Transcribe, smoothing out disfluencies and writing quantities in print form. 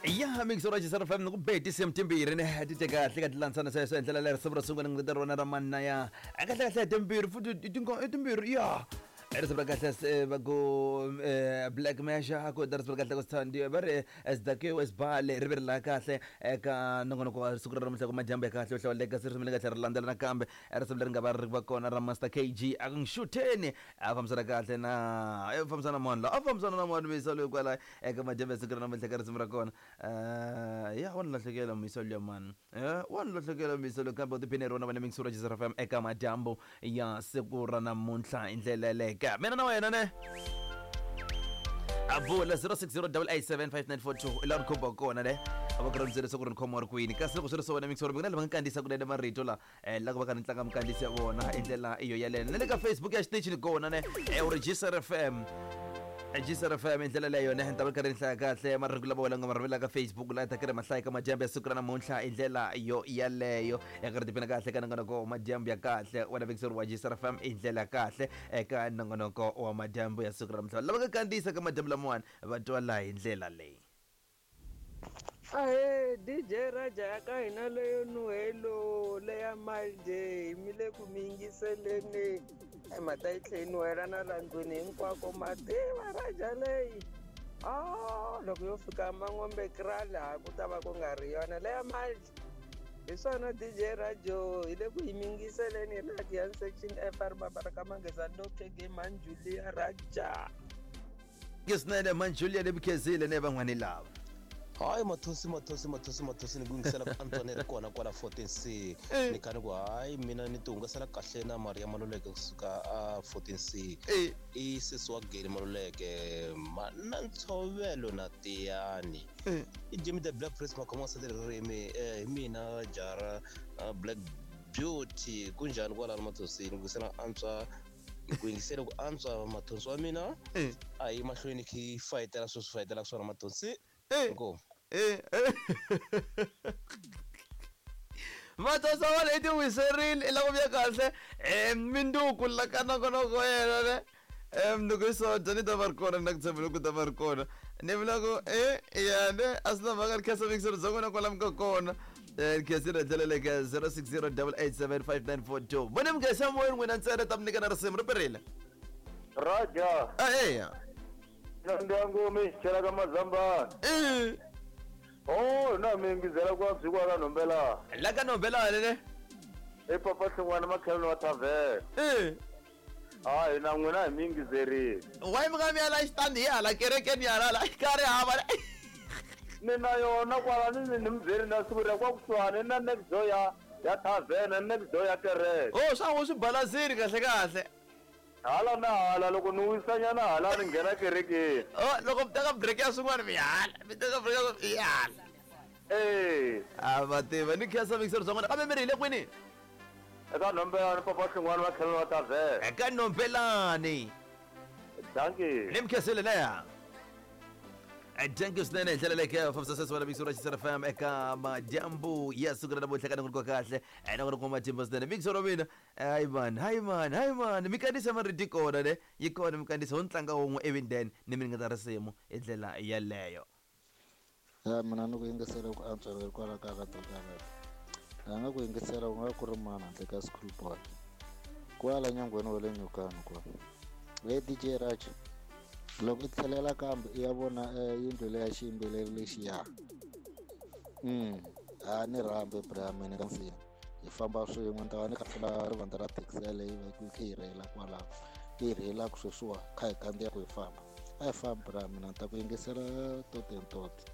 Ya mixo ra Xisara FM ku be tinsimu timbirhi ne ti te kahle ka tilandzana sweswo hi ndlela leyi risimu ro sungula ni rona ra manna ya kahle kahle timbirhi futhi i timbirhi ya risimu ra kahle se va ku Black Measure ku ta risimu ra kahle ku sithandi va ri Sdakiwe Sibale ri ve ri la kahle eka nongonoko wa siku ra namuntlha ku madyambu ya kahle yo hlawuleka se risimu leri nga tlhela ri landzela nakambe risimu leri nga va ri va kona ra Master KG a ku nxutheni a fambisana kahle na a fambisana mani la a fambisana na mani misa loyi kwalayo eka madyambu ya siku ra namuntlha ka risimu ra kona ya wa ni lahlekela muyisa luya mani wa ni lahlekela muyisa loyi kambe u tiphine hi rona vana mixo ra Jizera FM eka madyambu ya siku ra namuntlha hi ndlela yeleke mina na wena ne avula 0608875942 i laha ni khumba kona ne a va ku ri byela leswaku ri ni khomiwa ri kwini kasi loko swi ri so wena mixo ri na lava nga kandziyisa kunene marito la la ku va ka ni tlanga minkandziyiso ya vona hi ndlela iyo yaleyo na le ka Facebook ya xitichi ni kona ne u ri Jisr FM Jisr FM hi ndlela leyo ne ni ta va karhi ni hlaya kahle marito lama wena nga ma rhumela ka Facebook la ta karhi ma hlaya ka madyambu ya siku ra namuntlha hi ndlela yo yaleyo ya karhi tiphina kahle ka nongonoko wa madyambu ya kahle wena vekiseri wa Jisr FM hi ndlela ya kahle eka nongonoko wa madyambu ya siku ra namuntlha lava nga kandziyisa ka madyambu lamawani va twala hi ndlela leyi. Ahee DJ Raja ya ka hina leyo nuhelo leya manje mi le ku mi yingiseleni ai mhata yi tlhe yi nuhela na la ndlwini hinkwako ma tiva Raja leyi a loko yo fika Man'wombe kraal ha ku ta va ku nga ri yona leya manje hi swona DJ Rajo hi le ku yi mingiseleni hi la Giyani section F a ri Mabaraka Manghezani lo KG Manjulia Raja. Ke swinene man Julia le Bukhezile ne van'wani lava. Hayi Mathosi Mathosi Mathosi Mathosi ni ku yingisela ku antswa ni ri kona kwala 14C ni kha ni ku hayi mina ni ti hungasela kahle na Maria Maluleke kusuka a 14C i sesi wa Geli Maluleke na ntshovelo na Tiyani i Jimmy the Black Prince Makhoma wa ririmi hi mina Jara Black Beauty kunjhani kwalano Mathosi ni ku yingisela antswa ku yingisela ku antswa mathonsi wa mina eh. A yi mahlweni khi fayitela sweswi fayitelaka swona mathonsi eh. Inkomu eh, mathonsi wa wena i ti wiserile i lava ku vuya kahle um minduku la ka nongonoko yena ne um loko i so dya ni ta va ri kona ni na ku tshemba loko ta va ri kona ni vula ku e ya ne a swi na mhaka ri khensa mikiselo bya n'wina kwalamu ka kona. Khensile hi ndlela leyi ka 0608875942 vone mi khensa moyeni n'wina ntsena ta mi nyika na risimu ri perile. Raja. A eya. Na ndyangu mi chela ka mazambani. Oh, na mi yingizela ku byi kwa ka Nhombela. La ka Nhombela le. E papa Hlongwane makhelwani wa tavern. Hayi na n'wina hi mi yingizerile. Why mi nga mi ya la xitandi hi hala kerekeni ya hala ka ri hava. Ni na yona kwala ni ni mi byeli na siku ra kwa kusuhani na next door ya ya tavern next door ya kereke. Oh, swa ngo swi balasini kahle kahle. Hala na hala loko ni wisanyana hala ni nghena kerekeni. Oh, loko mi teka break ya swin'wana mi hala, mi teka break ya mi hala. Eh. A va tiva ni khensa mixer bya n'wina kambe mi ri hi le kwini? Eka Nhombelani papa Hlongwane va tlhela va tavern. Eka Nhombelani. Dankie. Ni mi khensile leya. Thank you swinene hi ndlela leyi ka fambisa sweswi wena mixo ra Xisera FM eka madyambu ya siku ra namuntlha ka nongonoko wa kahle nongonoko wa matimba swinene mixo ra mina hayi man hayi man hayi man mi kandziyisa marito yi kona ne yi kona mi kandziyisa ho ni tlanga wun'we ivi then ni mi ringeta risimu hi ndlela yeleyo. Ya mina ni ku yingisela ku antswa hikwalaho ka ka Karate. A nga ku yingisela ku nga ku ri mani handle ka school boy. Kwala nyangweni wa le Nyukani kwa. Hey DJ Raj, loko i tlhelela kambe i ya vona yindlu leya xiyimbeleri lexiya. A ni rhambi bra mina ka nsinya. Hi famba swin'we ni ta va ni kha tlula rivanti ra taxi yaleyo yi va yi kha yi rheyila kwalaho. Yi rheyilaka sweswiwa kha hi kandziya ku hi famba. A hi fambi bra mina ni ta ku yingisela toti and toti.